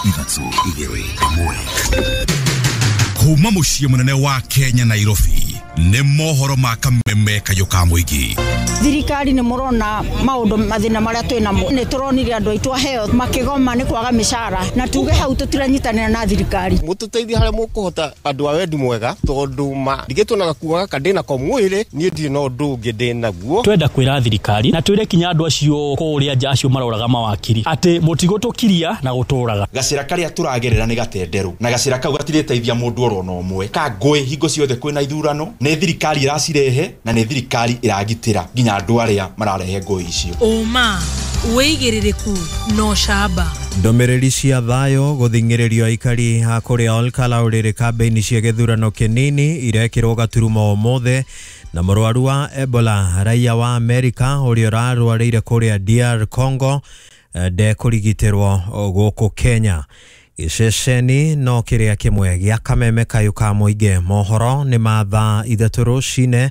3 2 1. Kuma muciĩ mũnene wa Kenya Nairobi nĩ mohoro ma kameme kayũ ka mũingĩ. Thirikari nĩ mũrona maũndũ mathĩna marĩa twĩ namo, nĩ tũronire andũ aitũ aheo makĩgoma nĩ kwaga mĩcara, na tuge hau tũtiranyitanĩra na thirikari. Mũtũteithie harĩa mũkũhota andũ a wendi mwega, tondũ ma ndigĩtwo na gakuo gaka ndĩna ko mwĩrĩ, niĩ ndirĩ na ũndũ ũngĩ ndĩnaguo. Twenda kwĩra thirikari na twĩre kinya andũ acio kũrĩa nja acio maroraga mawakiri atĩ mũtigũtũkiria na gũtũraga. Gacĩra karĩa tũragerera nĩ gatenderũ, na gacĩra kau gatirĩteithia mũndũ oro na ũmwe. Ka ngũĩ hingo ciothe kwĩna ithurano, nĩ thirikari ĩracirehe na nĩ thirikari ĩragitĩra nginya andũ arĩa mararehe ngũĩ icio. Ũma wĩigĩrĩrĩku no camba. Ndũmĩrĩri cia thayũ gũthing'ĩrĩrio aikari a kũrĩa Olkalau rĩrĩ kambĩini cia gĩthurano kĩnini irekĩrwo gaturumo ũmũthĩ, na mũrwaru wa Ebola raia wa Amerika ũrĩa ũrarwarĩire kũrĩa DR Congo ndekũrigitĩrwo gũkũ Kenya. Gĩceceni no kĩrĩa kĩmwe gĩa kameme kayũ ka mũingĩ. Mohoro nĩ ma thaa 3 rũcinĩ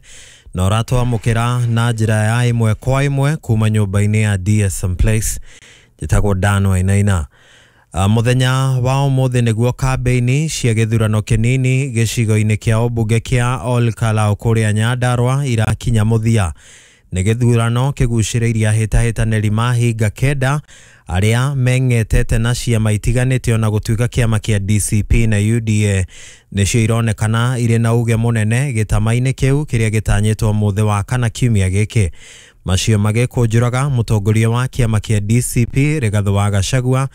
na ũratwamũkĩra na njĩra ya 1 kwa 1 kuma nyũmba-inĩ ya DSM Place. Njĩtagwo Dan Wainaina. Mũthenya wa ũmũthĩ nĩguo kambĩini cia gĩthurano kĩnini gĩcigo-inĩ kĩa ũmbunge kĩa Olkalau kũrĩa Nyandarua irakinya mũthia. Nĩ gĩthurano kĩgucĩrĩirie ahĩtahĩtanĩri mahinga 9 arĩa meng'etete na ciama itiganĩte, ona gũtuĩka kĩama kĩa DCP na UDA nĩcio ironekana irĩ na uge mũnene gĩtama-inĩ kĩu kĩrĩa gĩtanyĩtwo mũthĩ wa kana kiumia gĩkĩ. Macio magĩkũnjũraga, mũtongoria wa kĩama kĩa DCP Rigathĩ wa Gachagua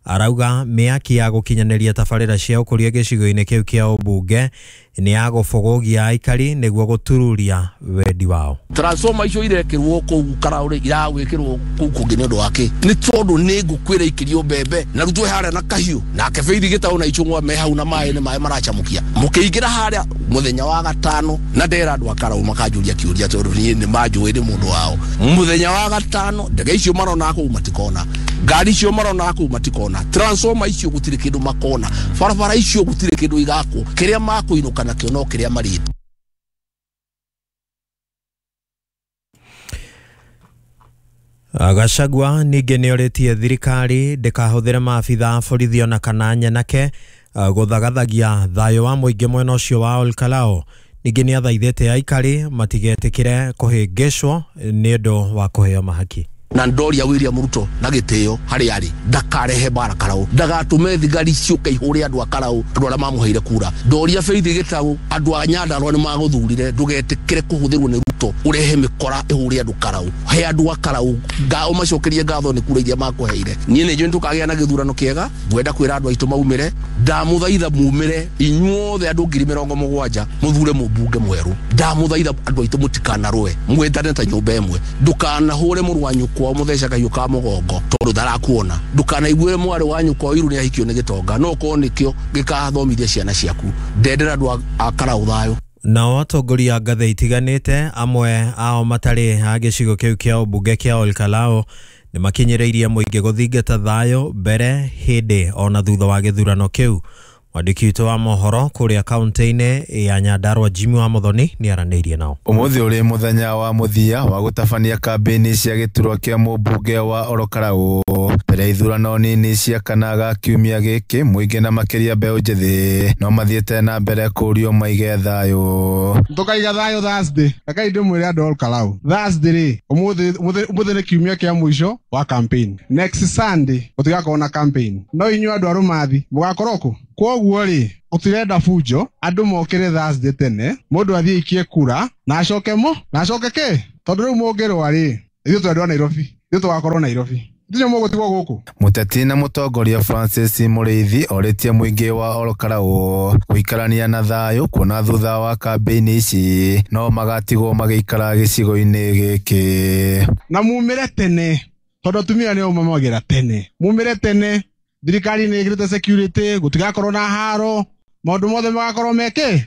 arauga mĩaki ya gũkinyanĩria tabarĩra cia ũkũria gĩcigo-inĩ kĩu kĩa ũmbunge nĩ ya gũbũgũgia aikari nĩguo gũtururia wendi wao. Transformer icio irekĩrwo kũu Karaũ iragwĩkĩrwo kũu kũngĩ nĩ ũndũ wa kĩ? Nĩ tondũ nĩ ngũkũ ĩraikĩrio mbembe na rĩu twĩ harĩa na kahiũ nake Faith Gĩtaũ na Ichung'wa me hau na maĩ nĩ maĩ maracamũkia. Mũkĩingĩra harĩa mũthenya wa gatano na ndera andũ a Karaũ makanjũria kĩũria tondũ niĩ nĩ manjũĩ nĩ mũndũ wao. Mũthenya wa gatano ndege icio marona kũu matikona, ngari icio marona kũu matikona, transformer icio gũtirĩ kĩndũ makona, barabara icio gũtirĩ kĩndũ igakwo, kĩrĩa makũinũka nakĩo no kĩrĩa marĩte. Gachagua ningĩ nĩorĩtie thirikari ndĩkahũthĩre maabitha a borithi ona kana nyanake gũthagathagia thayũ wa mũingĩ mwena ũcio wa Olkalau. Ningĩ nĩathaithĩte aikari matigetĩkĩre kũhĩngĩcwo nĩ ũndũ wa kũheo mahaki. Na ndoria William Ruto na gĩtĩo harĩa arĩ ndakarehe mbara Karaũ, ndagatũme thigari ciũke ihũre andũ a Karaũ, andũ arĩa mamũheire kura. Ndoria Faith Gĩtaũ, andũ a Nyandarua nĩ magũthurire, ndũgetĩkĩre kũhũthĩrwo nĩ Ruto ũrehe mĩkora ĩhũre andũ Karaũ. He andũ a Karaũ ũmacokerie ngatho nĩ kura iria makũheire. Niĩ nĩ njũĩ nĩtũkagĩa na gĩthurano kĩega, ngwenda kwĩra andũ aitũ maumĩre, ndamũthaitha mumĩre inyuothe andũ 70,000 mũthure mũmbunge mwerũ. Ndamũthaitha andũ aitũ mũtikanarũe, mwendane ta nyũmba ĩmwe, ndũkanahũre mũrũ wa nyũkwa mũtheca kahiũ ka mũgongo tondũ ndarakuona, ndũkanaiguĩre mwarĩ wa nyũkwa iru nĩ ahikio nĩ gĩtonga, no korwo nĩkĩo gĩkathomithia ciana ciaku. Ndendera andũ a Karaũ thayũ. Nao atongoria a ngathĩ itiganĩte amwe ao matarĩ a gĩcigo kĩu kĩa ũmbunge kĩa Olkalau nĩ makinyĩrĩirie mũingĩ gũthingata thayũ mbere, hĩndĩ ona thutha wa gĩthurano kĩu. Mwandĩki witũ wa mohoro kũrĩa kaunti-inĩ ya Nyandarua Jimmy wa Muthoni nĩaranĩirie nao. Ũmũthĩ ũrĩ mũthenya wa mũthia wa gũtabania kambĩini cia gĩturwa kĩa mũmbunge wa Olkalau mbere ya ithurano nini cia kana ga kiumia gĩkĩ. Mũingĩ na makĩria mbeũ njĩthĩ no mathiĩte na mbere kũũrio maige thayũ. Tũkaiga thayũ Thursday. Rekei ndĩmwĩre andũ a Olkalau, Thursday rĩ, ũmũthĩ nĩ kiumia kĩa mũico wa campaign. Next Sunday gũtigakorwo na campaign. No inyuĩ andũ a Rũmathi mũgakorwo kũ? Kwoguo rĩ, gũtirenda bunjo, andũ mokĩre Thursday tene, mũndũ athiĩ aikie kura na acoke mũ na acoke kĩ, tondũ rĩu mũngĩrũa rĩ, ithuĩ twendwa a Nairobi, ithuĩ tũgakorwo Nairobi, ithuĩ mũgũtigwo gũkũ. Mũteti na mũtongoria Francis Mũrĩithi orĩtie mũingĩ wa Olkalau gũikarania na thayũ, kuona thutha wa kambĩini ici no magatigwo magĩikara gĩcigo-inĩ gĩkĩ. Na mumĩre tene, tondũ atumia nĩo mamagĩra tene, mumĩre tene. Thirikari nĩ ĩkĩrĩte security, gũtigakorwo na haro, maũndũ mothe magakorwo mekĩ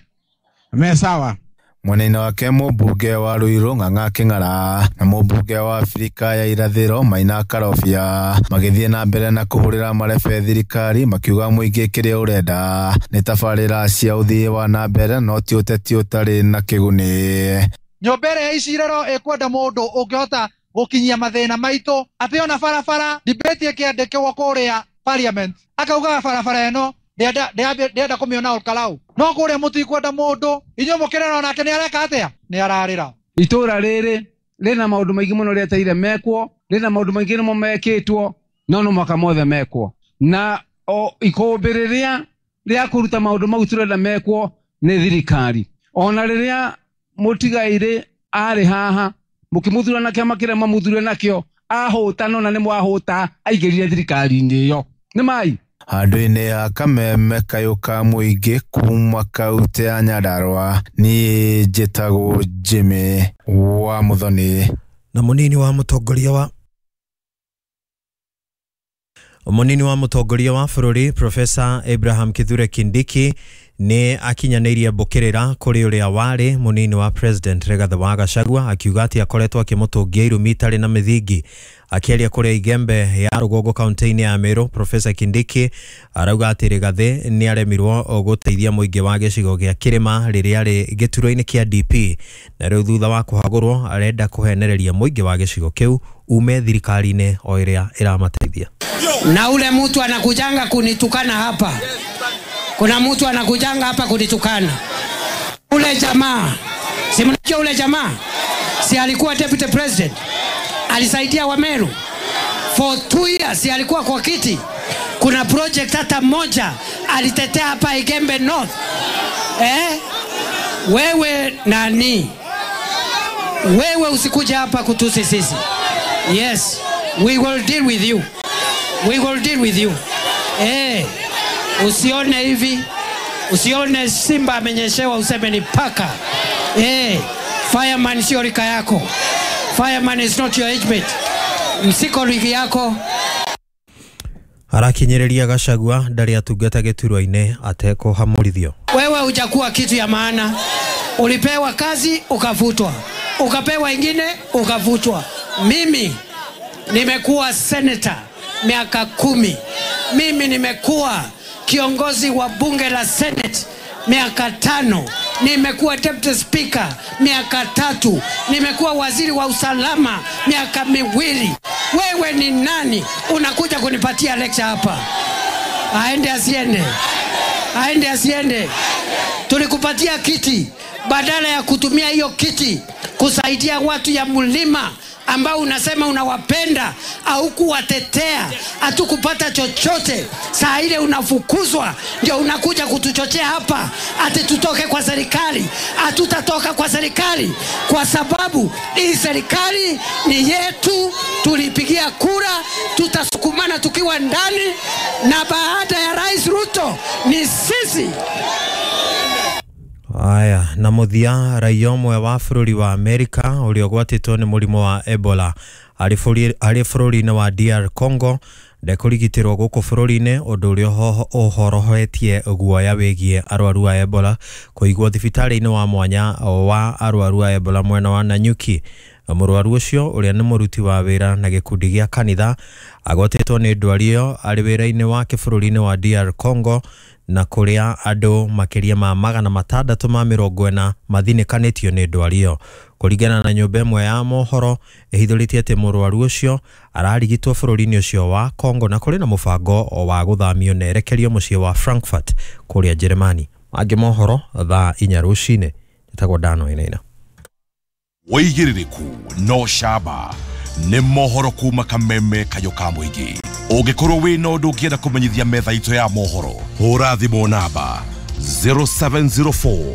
me sawa. Mwena-inĩ wake mũmbunge wa Ruiru Ng'ang'a Kĩng'ara na mũmbunge wa Abirika ya Irathĩro Maina Karobia magĩthiĩ na mbere na kũhũrĩra marebe thirikari makiuga mũingĩ kĩrĩa ũrenda nĩ tabarĩra cia ũthii wa na mbere no ti ũteti ũtarĩ na kĩguni. Nyũmba ĩrĩa ya icirero ĩkwenda mũndũ ũngĩhota gũkinyia mathĩna maitũ, atĩ ona barabara debate ĩkĩandĩkwo kũrĩa parliament akaugaga barabara ĩno ndĩrenda kũmĩona Olkalau no kũrĩa mũtikwenda mũndũ inyuĩ mũkĩrera onake nĩ areka atĩa nĩ ararĩra. Itũra rĩrĩ rĩna maũndũ maingĩ mũno rĩeteire mekwo, rĩna maũndũ maingĩ nĩmo mekĩtwo no no mwaka mothe mekwo na o ikũmbĩ rĩrĩa rĩa kũruta maũndũ mau tũrenda mekwo nĩ thirikari. Ona rĩrĩa mũtigairĩ arĩ haha mũkĩmũthura na kĩama kĩrĩa mamũthure nakĩo ahũta no na nĩ mwahũta aingĩrire thirikari-inĩ ĩyo nĩ mai. Handũ-inĩ ha kameme kayũ ka mũingĩ kuma kaunti ya Nyandarua niĩ njĩtagwo Jimmy wa Muthoni. Na mũnini wa mũtongoria wa bũrũri Professor Abraham Kithure Kindiki nĩ akinyanĩirie mbũkĩrĩra kũrĩ ũrĩa warĩ mũnini wa President Rigathi wa Gachagua akiuga atĩ akoretwo akĩmũtũngia irumi itarĩ na mĩthingi. Akĩaria kũrĩa Igembe ya rũgongo kaunti-inĩ ya Meru, Professor Kindiki arauga atĩ Rigathi nĩ aremirwo gũteithia mũingĩ wa gĩcigo gĩa kĩrĩma rĩrĩa arĩ gĩturwa-inĩ kĩa DP na rĩu thutha wa kũhagũrwo arenda kũhenereria mũingĩ wa gĩcigo kĩu ume thirikari-inĩ o ĩrĩa ĩramateithia. Na ule mtu anakujanga kunitukana hapa, kuna mtu anakujanga hapa kunitukana. Ule jamaa, si mnajua ule jamaa, si alikuwa deputy president, alisaidia Wameru for 2 years, si alikuwa kwa kiti. Kuna project hata moja alitetea hapa Igembe North. Wewe nani? Wewe usikuja hapa kutusi sisi. Yes, we will deal with you. We will deal with you. Usione hivi, usione simba amenyeshewa useme ni paka. Fireman sio rika yako. Fireman is not your age mate. Msiko ligi yako. Arakinyereria Gachagua ndarĩ atungata gĩturwa-inĩ atekũhamũrithio. Wewe hujakuwa kitu ya maana. Ulipewa kazi ukafutwa, ukapewa ingine ukafutwa. Mimi nimekuwa senator miaka 10. Mimi nimekuwa kiongozi wa bunge la Senate miaka 5. Nimekuwa deputy speaker miaka 3. Nimekuwa waziri wa usalama miaka 2. Wewe ni nani unakuja kunipatia lecture hapa? Aende asiende, aende asiende. Tulikupatia kiti, badala ya kutumia hiyo kiti kusaidia watu ya mlima ambao unasema unawapenda au kuwatetea, hatukupata chochote. Saa ile unafukuzwa ndio unakuja kutuchochea hapa ati tutoke kwa serikali. Hatutatoka kwa serikali kwa sababu hii serikali ni yetu, tulipigia kura, tutasukumana tukiwa ndani, na baada ya Rais Ruto ni sisi. Aya, na mũthia raia ũmwe wa bũrũri wa Amerika ũrĩa ũgwatĩtwo nĩ mũrimũ wa Ebola arĩ bũrũri-inĩ wa DR Congo ndekũrigitĩrwo gũkũ bũrũri-inĩ, ũndũ ũrĩa ũhorohetie guoya wĩgiĩ arwaru a Ebola kũigwo thibitarĩ-inĩ wa mwanya wa arwaru a Ebola mwena wa Nanyuki. Mũrwaru ũcio ũrĩa nĩ mũruti wa wĩra na gĩkundi gĩa kanitha agwatĩtwo nĩ ndwari ĩyo arĩ wĩra-inĩ wake bũrũri-inĩ wa DR Congo na kũrĩa andũ makĩria ma 640 mathinĩkanĩtio nĩ ndwari ĩyo. Kũringana na nyũmba ĩmwe ya mohoro ĩhithũrĩtie atĩ mũrwaru ũcio ararigitwo bũrũri-inĩ ũcio wa Congo na kũrĩ na mũbango wa gũthamio na erekerio mũciĩ wa Frankfurt kũrĩa Jeremani. Mangĩ mohoro thaa 4 rũcinĩ. Njĩtagwo Dano Inaina. Wĩigĩrĩrĩku no camba nĩ mohoro kuma kameme kayũ ka mũingĩ. Ũngĩkorwo wĩna ũndũ ũngĩenda kũmenyithia metha itũ ya mohoro, hũra thimũ namba 0704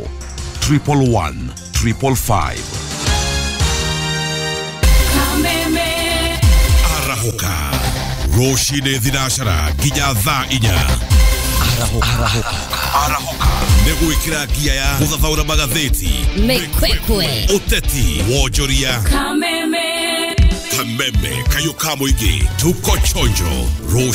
111 555. Arahũka rũcinĩ thinacara nginya thaa 4. Arahũka nĩ gwĩkĩra ngia ya gũthathaũra magathĩti, mĩkwekwe, ũteti, wonjoria, kameme kameme kayũ ka mũingĩ. Tuko chonjo rũcinĩ.